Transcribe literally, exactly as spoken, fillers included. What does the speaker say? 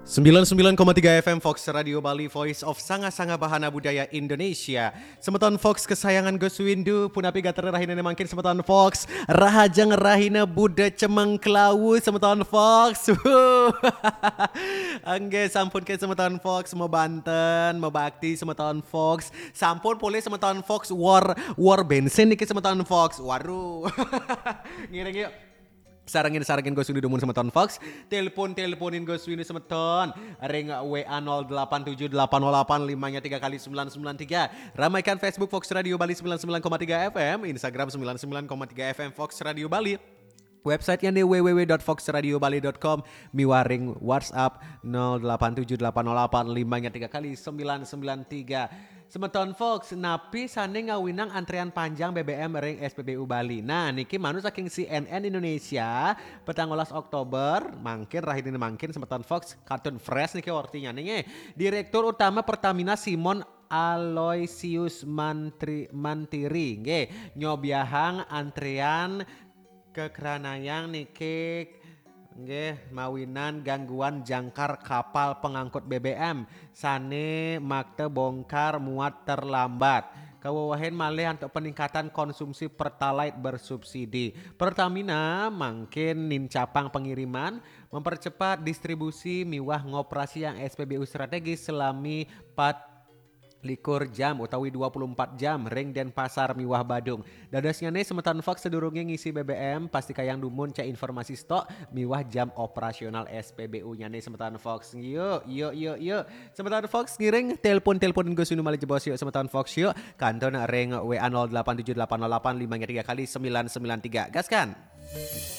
Sembilan sembilan koma tiga F M Fox Radio Bali, Voice of Sanga-Sanga Bahana Budaya Indonesia. Semeton Fox kesayangan Gus Windu, punapi gatra rahina mangkin semeton Fox? Rahajeng rahina Buda Cemeng Klawu semeton Fox. Angge, sampun ke semeton Fox, mau banten, mau bakti semeton Fox. Sampun polih semeton Fox, war, war bensin niki semeton Fox. Waduh. Ngiring yuk. Sarengin-sarengin Gus Windu dumun semeton Fox. Telepon-teleponin Gus Windu semeton ring W A nol delapan tujuh delapan nol delapan lima nya tiga kali sembilan sembilan tiga. Ramaikan Facebook Fox Radio Bali sembilan sembilan koma tiga F M, Instagram sembilan sembilan koma tiga F M Fox Radio Bali. Websitenya nih w w w dot fox radio bali dot com, miwah ring WhatsApp nol delapan tujuh delapan nol delapan lima nya tiga kali sembilan sembilan tiga. Semeton Fox, napi sane ngawinang antrean panjang B B M ring S P B U Bali? Nah, niki manut saking C N N Indonesia, petang welas Oktober, mangkin rahina mangkin semeton Fox kantun fresh niki ortinya nih. Direktur Utama Pertamina Simon Aloysius Mantri, Mantiri nggih nyobiahang antrean kekranayang niki nggih mawinan gangguan jangkar kapal pengangkut B B M sane makta bongkar muat terlambat. Kawewehin malih antuk peningkatan konsumsi Pertalite bersubsidi. Pertamina mangkin nincapang pengiriman, mempercepat distribusi miwah ngoperasiang S P B U strategis selami pat likur jam utawi dua puluh empat jam ring Denpasar miwah Badung. Dadosnyane semeton Fox sedurunge ngisi B B M, pastikayang dumun cek informasi stok miwah jam operasional S P B U-nyane semeton Fox. Yuk, yuk, yuk, yuk. Semeton Fox ngiring telepon-teleponin Gus Windu malih jebos yuk semeton Fox yuk. Kantun ring W A nol delapan tujuh delapan nol delapan lima nya tiga kali sembilan sembilan tiga. Gaskan.